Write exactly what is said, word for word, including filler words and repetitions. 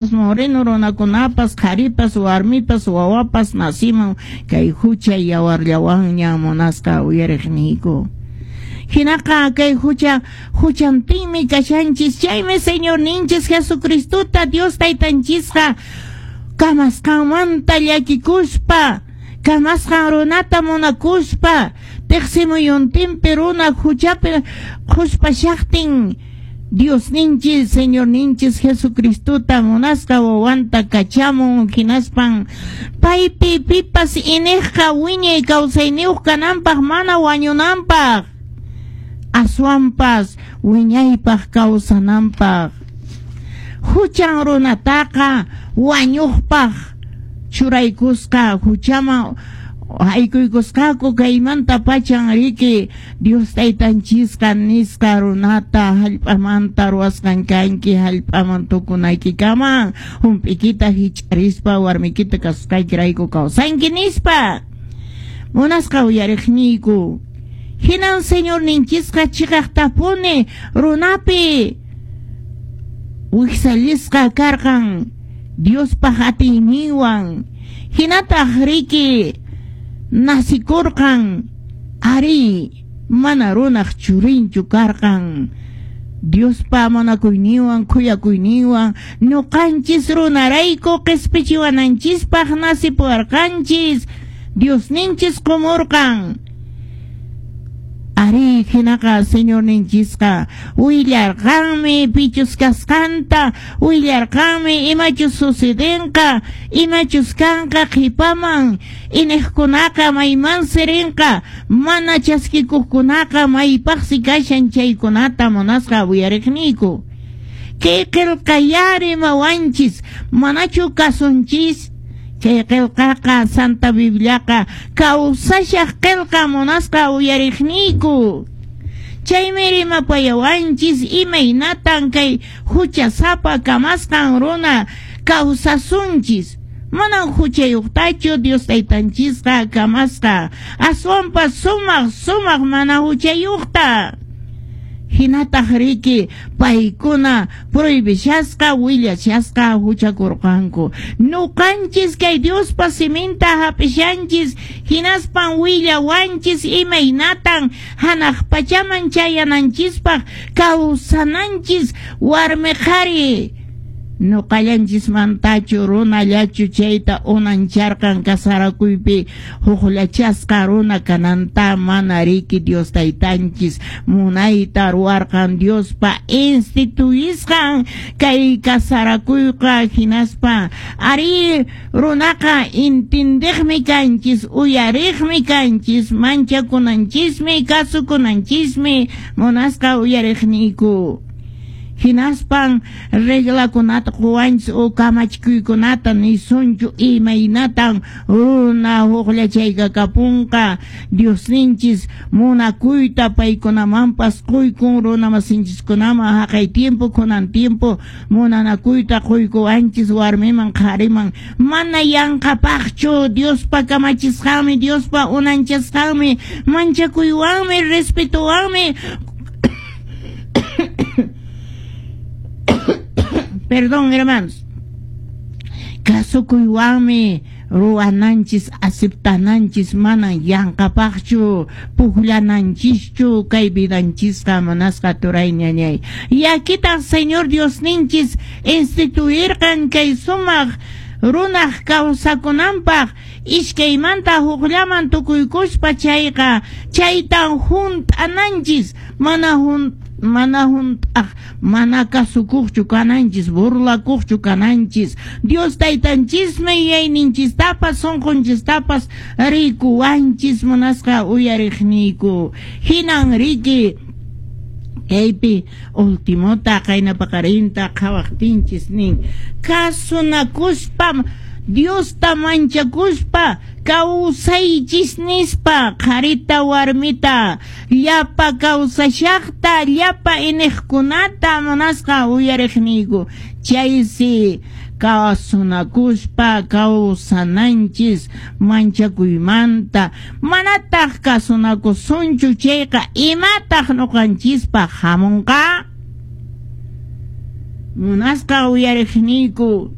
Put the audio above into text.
Moreno runakunapas, qharipas, warmipas, wawapas nasimun kay hucha yawarllawanña, munasqa uyariqniyku. Hinaqa kay hucha huchantinmi kashanchis. Chaymi Señorninchis Jesucristota Dios Taytanchisqa kamasqanmanta llakikuspa, kamasqan runata munakuspa, teqsimuyuntinpi runa huchapi qhuspashaqtin, Diosninchis Señorninchis Jesucristota, munasqa wawanta kachamun, hinaspan paypi pipas iniqqa wiñay kawsayniyuq kananpaq, mana wañunanpaq, aswanpas wiñaypaq kawsananpaq. Huchan runataqa wañuqpaq churaykusqa, huchaman haykuykusqaku. Kaymanta pachan riki Dios Taytanchisqa nisqa runata: "Hallp'amanta ruwasqan kanki, hallp'aman tukunaykikaman hump'ikita hich'arispa warmikita kasusqaykirayku kawsanki" nispa. Munasqa uyariqniyku, hinan Señorninchisqa chiqaqtapuni runapi wiksallisqa karqan Diospaq atiyninwan, hinataq riki nasikurqan. Ari, mana runaq churinchu karqan. Diospa munakuyninwan, khuyakuyninwan ñuqanchis runarayku qispichiwananchispaq nasipuwarqanchis, Diosninchis qumurqan. Ari, hinaqa Señorninchisqa willarqanmi pichus kasqanta, willarqanmi imachus sucedenqa, imachus kanqa qhipaman, iniqkunaqa maymansi rinqa, mana chaskikuqkunaqa maypaqsi kashan chaykunata. Munasqa uyariqniyku, kay qillqayá rimawanchis, manachu kasunchis? Chay qillqaqa, Santa Bibliaqa kawsashaq qillqa, munasqa uyariqniyku. Chaymi rimapayawanchis imaynatan kay huchasapa kamasqan runa kawsasunchis. Manan huchayuqtachu Dios Taytanchisqa kamasqa, aswanpas sumaq sumaq mana huchayuqta. Hinataq riki paykuna prohibishasqa, willashasqa huchakurqanku. Ñuqanchis kay Diospa siminta hap'ishanchis, hinaspan willawanchis imaynatan hanaq pachaman chayananchispaq kawsananchis warmi qhari. Ñuqallanchismantachu, runallachu chayta unancharqan kasarakuypi hukllachasqa runa kananta? Mana riki. Dios Taytanchis munayta ruwarqan Diospa instituyisqan kay kasarakuyqa. Hinaspa ari runaqa intindiqmi kanchis, uyariqmi kanchis, manchakunanchismi, kasukunanchismi, munasqa uyariqniyku. Hinaspan reglakunata quwanchis o kamachikuykunata nisunchu, imaynatan runa hukllachayka kapunqa. Diosninchis munakuyta paykunamanpas quykun, runamasinchiskunaman haqay tiempo, kunan tiempo munanakuyta quykuwanchis warmiman qhariman. Mana yanqapaqchu, Diospa kamachisqanmi, Diospa unanchasqanmi, manchakuywanmi, respetuwanmi. Perdón, hermanos. Kasukuywanmi ruwananchis, aceptananchis, manan yanqapaqchu pukllananchischu kay vidanchisqa, munasqa turay, ñañay. Yakitaq Señor Diosninchis instituirqan kay sumaq runaq kawsakunanpaq iskaymanta hukllaman tukuykuspa chayqa, chaytan hunt'ananchis, mana hunt mana hunt'aq, mana kasukuqchu kananchis, burlakuqchu kananchis. Dios Taytanchismi yuyayninchistapas sunqunchistapas rikuwanchis, munasqa uyariqniyku. Hinan riki kaypi ultimota qayna paqarinta qhawaqtinchis nin: "Kasunakuspa, Diosta manchakuspa kawsaychis" nispa, qharita warmita llapa kawsashaqta, llapa iniqkunata, munasqa uyariqniyku. Chaysi kasunakuspa kawsananchis manchakuymanta. Manataq kasunakusunchu chayqa, imataq ñuqanchispaq hamunqa? Munasqa uyariqniyku.